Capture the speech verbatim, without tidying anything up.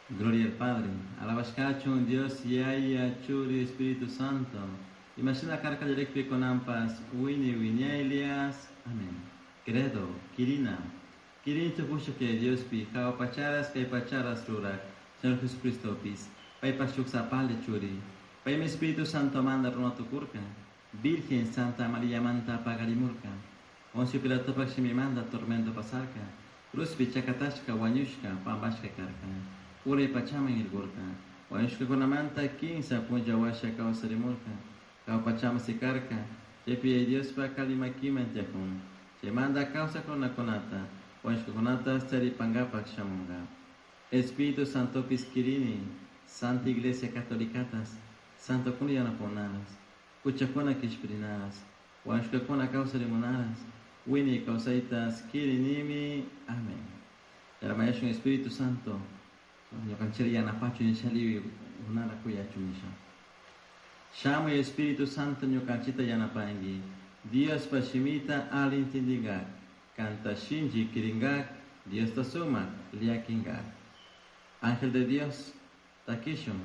Gloria al Padre, alabashkachun Dios Yaya, Churi, Espíritu Santo. Imashina karka kallarikpi kunanpas, wiñay wiñaylias. Amén. Credo, Kirina. Kirini tukushuk Yaya Diospi, jahua pacharas kay pacharas rurak, Señor Jesucristopis, paypak shuk sapalla churi. Paymi Espíritu Santomanta runa tukurka, Virgen Santa Mariamanta paqarimurka. Poncio Pilatopak shimimanta tormento pasarka, cruzpi chakatashka wañushka pampashka karka. Uray pachaman irkurka. Wañushkakunamanta kinsa punlla washa kawsarimurka. Jahua pachaman sikarka, chaypi Yaya Diospa kali makiman tiyakun. Chaymanta kawsak runakunata, wañushkakunata charipankapak shamunka. Espíritu Santopis kirini, Santa Iglesia Catolicatas, Santokuna yanapunaras, huchakuna kishpirinaras, wañushkakuna kawsarimunaras, wiñay kawsaytas kirinimi. Amén. Yarmayashun Espíritu Santo, ñukanchik yanapachun nisha liwi kunara kuyachun nisha. Shamuy Espíritu Santo ñukanchikta yanapanki, Diospa shimita ali intindingak, kanta shinchi kiringak, Diosta sumak llakinkak. Ángel de Dios, takishun.